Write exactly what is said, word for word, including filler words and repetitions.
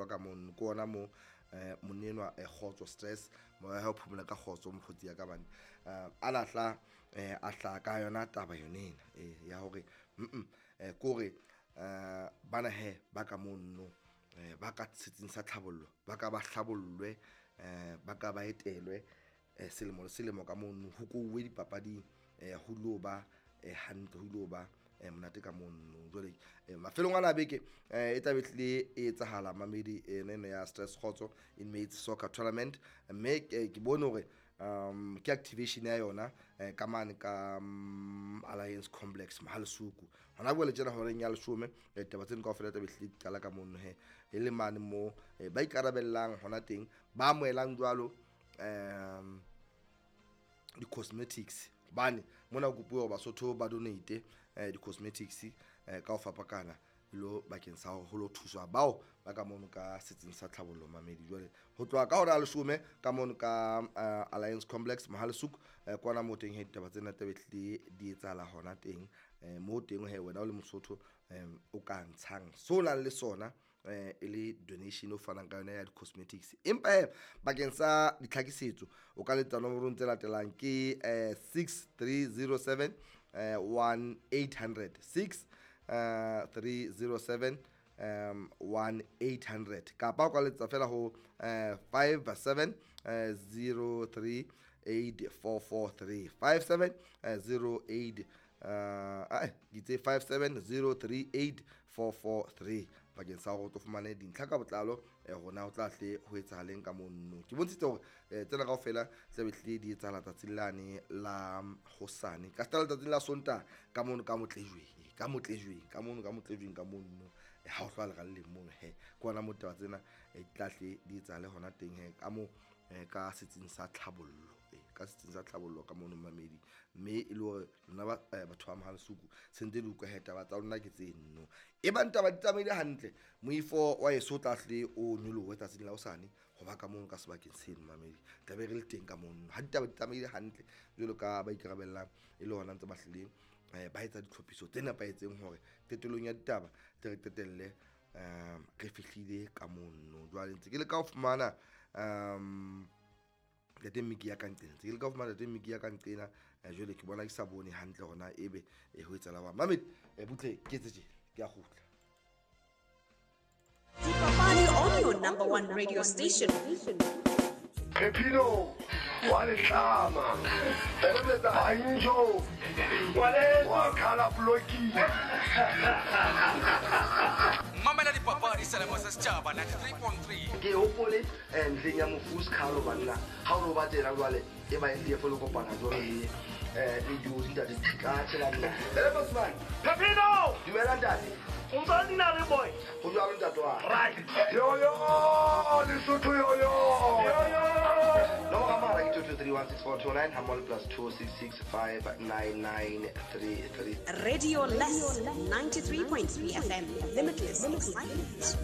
bua ka mono ke ona mo eh monenwa eh kgotso stress moya ha o phomola ka kgotso mokgotsi ya ka bane a lahla eh a hla ka yona taba yone ena eh ya hore mm eh kore eh bana he ba ka mono eh ba ka setsing sa tlhabollo ba ka ba hlabollwe eh ba ka ba etelwe eh selemo le selemo ka mono ho kouwe dipapading eh ho lo ba eh hantle ho lo ba eh monate ka mono jwale mafelong a la beke eh e tla be tle e etsahala mamedi ene ya Stress Kgotso Inmates Soccer Tournament mme ke bone hore um ke activation ya yona ka mane ka Alliance Complex Mahalisuku hona bua le tjena hore ya leshome taba tseno kaofela tla be tle qala ka mono he e le mane mo ba ikarabellang hona teng ba amohelang jwalo um di cosmetics bane mona kopuwa Basotho ba donate eh di cosmetics eh ka ho fapakana lo bakeng sa ho lo thuswa bao ba ka mono ka setsing sa tlhabollo mamedi jwale ho tloha ka hora ya leshome ka mono ka Alliance Complex Mahalisuku kwana mo teng he ditaba tsena tla be tle di etsahala hona teng mo teng he wena o le Mosotho o ka ntshang so nang le sona eh e le donation o fanang ka yona ya di cosmetics empa he bakeng sa ditlhakisetso o ka letsa nomorong tse latelang ke eh six three zero seven one eight hundred six three zero seven um one eight hundred kapa o ka letsa fela ho five seven zero three eight four four three five seven zero eight uh ditse five seven zero three eight four four three bakeng sa hore o fumane dintlha ka botlalo rona o tla hle ho etsahaleng ka mono ke bontshitse hore tsena kaofela tla be tle di etsahala tsatsing lane la hosane ka stala tsatsing la Sontaha ka mono ka Motlejweng ka Motlejweng ka mono ka Motlejweng ka mono ha o hlwa le ralleng mono he ke ona mo taba tsena tla hle di etsahale hona teng he ka mo ka setsing sa tlhabollo ka setsing sa tlhabollo ka mono mamedi mme e le hore lona ba batho ba Mahalisuku sentse le utlwa he taba tsa lona ke tseno e bang taba di tsamaile hantle moifo wa eso tla hle o nyolohe tsatsing la hosane ho ba ka mono ka sebakeng seno mamedi tla be re le teng ka mono ha ditaba di tsamaile hantle jwalo ka ba ikarabellang e le hona ntse ba hlileng ba etsa ditlhophiso tse nepahetseng hore qetellong ya ditaba tle re qetelle um re fihlile ka mono jwale ntse ke le ka ho fumana um ntate Miki ya ka nqena ntse ke le ka ho fumana ntate Miki ya ka nqena jwale ke bona ke sa bone hantle hona ebe ho etsahala jwang mamedi butle ke etse tje ke a kgutla. Dipapadi on your number one radio station. Pepino wa letlama Banjo wa khala bloki Mamela dipapadi selemo sa setjhaba ninety-three point three. Ke hopole ntleng ya mofu Skhalo banna ha o no ba tsena jwale e ba e folo kopana jwalo le eh le dijo ntate ka tshela nna. Ele Bosman. Pepino dumela ntate. O ntse nna le boy. Ho jwalo ntate wa. Right. Yo yo Lesotho yo yo. Yo yo. Nomoro ya mohala ke two two three one six four two nine hammoho plus two six six five nine nine three three. Radio Less ninety-three point three F M. Limitless excitement.